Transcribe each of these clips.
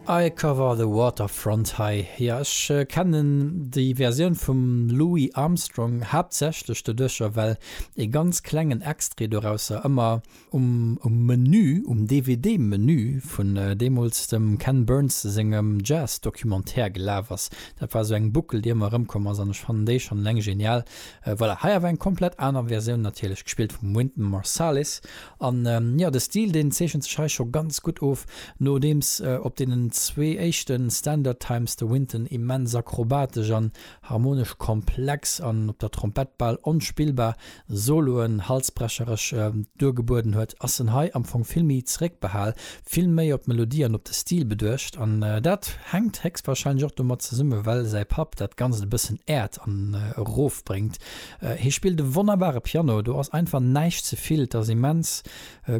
I Cover the Waterfront hei. Jo, ech kennen déi Versioun vum Louis Armstrong haaptsächlech doduercher, well ee ganz klengen Extrait dorausser ëmmer um Menü, um DVD-Menü vun deemools dem Ken Burns sengem Jazz-Documentaire gelaf ass. Dat war esou eng Buckel, déi ëmmer erëmkomm ass an ech fannen déi schonn eleng genial. Voilà, hei awer eng komplett aner Versioun natierlech, gespillt vum Wynton Marsalis. An jo, de Stil deen zeechent sech hei scho ganz gutt of, nodeems op deenen zwee éischte Standard Times de Wynton immens akrobatesch an harmonesch komplex an op der Trompett bal onspillbar Soloen halsbrecheresch duergebueden huet, ass en hei am Fong vill méi zeréckbehal, vill méi op d'Melodie an op de Stil beduecht. An dat hänkt héchstwahrscheinlech och domat zesumme well säi Papp dat Ganzt e bëssen äert an erofbréngt. Hie spillt e wonnerbare Piano, do ass einfach näischt ze vill, et ass immens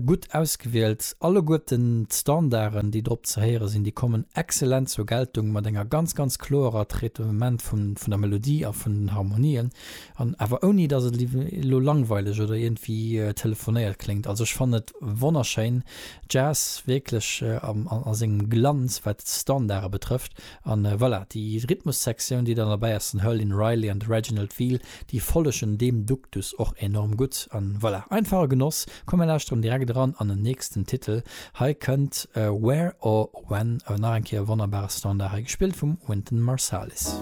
gutt ausgewielt. Alleguerten d'Standarden, déi drop ze héiere sinn, déi kommen excellent zur Geltung, mat enger ganz, ganz kloerer Traitement vun der Melodie a vun den Harmonien, an awer ouni dass et elo langweileg oder iergendwéi telefonéiert kléngt. Also ech fannen et wonnerschéin, Jazz wierklech a sengem Glanz, wat d'Standarde betrëfft. An voilà, déi Rhythmussektioun, déi dann derbäi ass, den Herlin Riley an de Reginald Veal, déi follegen deem Duktus och enorm gutt. An voilà, einfach e Genoss. Komm mir lauschteren direkt eran an en nächsten Titel. Hei kënnt Where or When, nach eng Kéier e wonnerbare Standard, hei gespillt vum Wynton Marsalis.